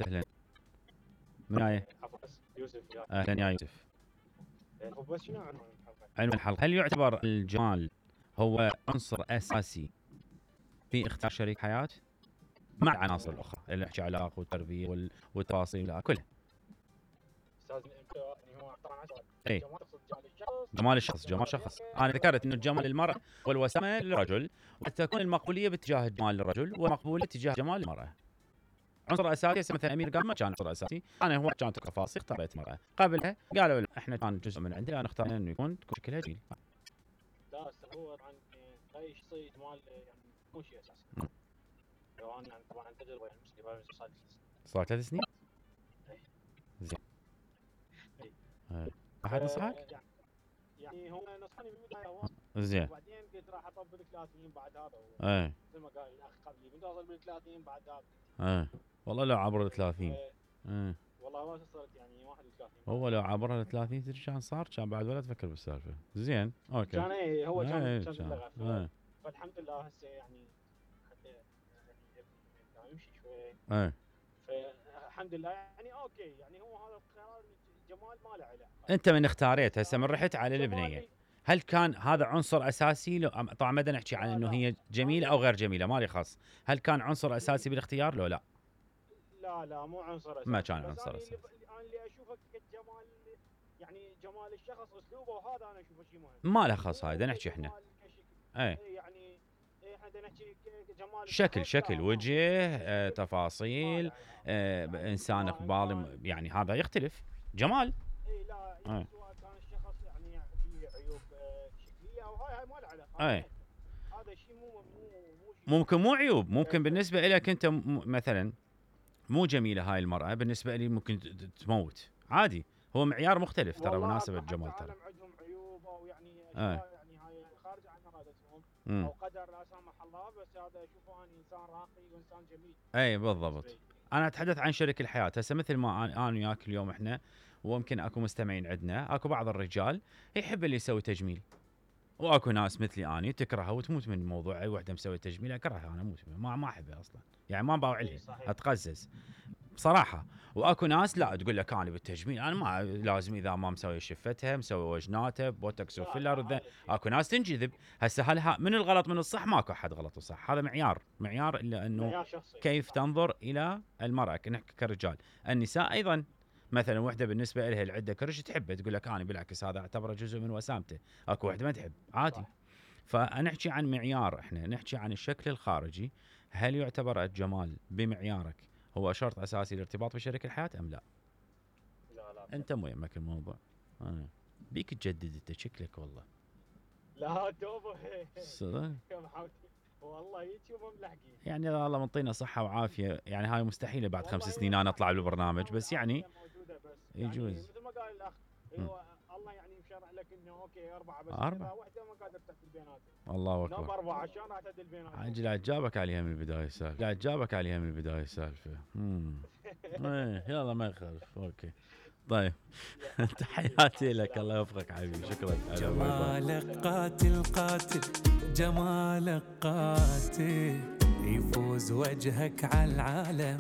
اهلا. من هاي؟ يوسف. اهلا يا يوسف. بس شنو عنوان الحلقة: هل يعتبر الجمال هو عنصر اساسي في اختيار شريك حياة مع العناصر الاخرى اللي نحكي علاقة والتربية والتفاصيل كلها؟ استاذ يعني هو طبعا اي جمال الشخص. جمال الشخص. انا ذكرت انه الجمال للمرأة والوسامة للرجل، وقد تكون المقبولية باتجاه الجمال للرجل والمقبولية تجاه جمال المرأة. عنصر اساسي مثلا امير قال ما كان عنصر اساسي، انا هو كانت تفاصيل اختاريت مرأة، قبلها قالوا لا احنا كان جزء من عندنا، انا اخترنا انه تكون شكلها جميل. لا هو طبعا اي شخصيه جمال يعني مو شيء اساسي. لو انا يعني طبعا تجربه يعني مسلمه صار 3 سنين. زين. احد نصحك؟ يعني هو نصحني بالبدايه زين، وبعدين قلت راح اطبق 30 بعد هذا. مثل ما قال الاخ قبلي بدي اوصل بال 30 بعد هذا. والله لو عبر ال 30 والله ما وصلت يعني 31. هو لو عبر ال 30 تدري كان صار، كان بعد ولا تفكر بالسالفه. زين اوكي. كان هو كان فالحمد لله هسه يعني حتى يعني يمشي شوي. فالحمد لله يعني اوكي، يعني هو هذا القرار جمال ما له علاقه. انت من اختاريت هسه من رحت على البنيه، هل كان هذا عنصر اساسي؟ لو طبعا ما بدنا نحكي عن انه هي جميله او غير جميله، مالي خاص. هل كان عنصر اساسي بالاختيار لو لا؟ لا مو عنصر اساسي. ما كان عنصر اساسي. انا اللي اشوفه كجمال يعني جمال الشخص اسلوبه، وهذا انا اشوفه شيء مهم. ما له خاص هاي، بدنا نحكي احنا يعني احنا بدنا نحكي جمال شكل وجه، تفاصيل، انسان اقبال، يعني هذا يختلف جمال. اي لا يعني سواء كان الشخص يعني فيه عيوب شكليه او هاي ما له علاقه. هذا شيء ممكن مو عيوب، ممكن بالنسبه لك انت مثلا مو جميله هاي المراه، بالنسبه لي ممكن تموت عادي. هو معيار مختلف ترى مناسب الجمال ترى. عندهم عيوب او يعني يعني هاي خارج عن ارادتهم او قدر لا سمح الله، بس هذا اشوفه اني انسان راقي وانسان جميل. اي بالضبط. انا اتحدث عن شريك الحياه هسه، مثل ما انا وياك اليوم احنا، ويمكن اكو مستمعين عندنا، اكو بعض الرجال يحب اللي يسوي تجميل، واكو ناس مثلي اني تكرهها وتموت من موضوع اي وحده مسوي تجميل، اكرهها انا، اموت ما احبها اصلا، يعني ما باوع لها، اتقزز بصراحه. واكو ناس لا تقول لك انا بالتجميل انا ما لازم اذا ما مسوي شفتها مسوي وجناتها بوتوكس وفيلر. اكو ناس تنجذب. هسه هل من الغلط من الصح؟ ماكو احد غلط وصح، هذا معيار الا انه كيف تنظر الى المراه. نحكي كرجال، النساء ايضا مثلا وحده بالنسبه لها العده كرش تحبه، تقول لك انا بالعكس هذا اعتبره جزء من وسامته. اكو وحده ما تحب عادي. فنحكي عن معيار، احنا نحكي عن الشكل الخارجي. هل يعتبر الجمال بمعيارك هو شرط اساسي للارتباط بشريك الحياه ام لا؟ لا انت مو يمك الموضوع. بيك تجدد انت شكلك والله. لا توبه صدق والله هيك مملحقين. يعني الله منطينا صحه وعافيه، يعني هاي مستحيله بعد 5 سنين انا اطلع بالبرنامج، بس يعني يجوز. يعني مثل ما قال الاخ، الله يعني مشرع لك انه اوكي 4 بس 4 وحده ما قادر تعدل بيناتهم. الله اكبر. نام 4 عشان راح تعدل بيناتهم. عجل جابك عليها من البدايه السالفه. يلا ما يخالف. اوكي طيب. تحياتي لك، الله يوفقك حبيبي، شكرا. جمالك قاتل جمالك قاتل، يفوز وجهك على العالم.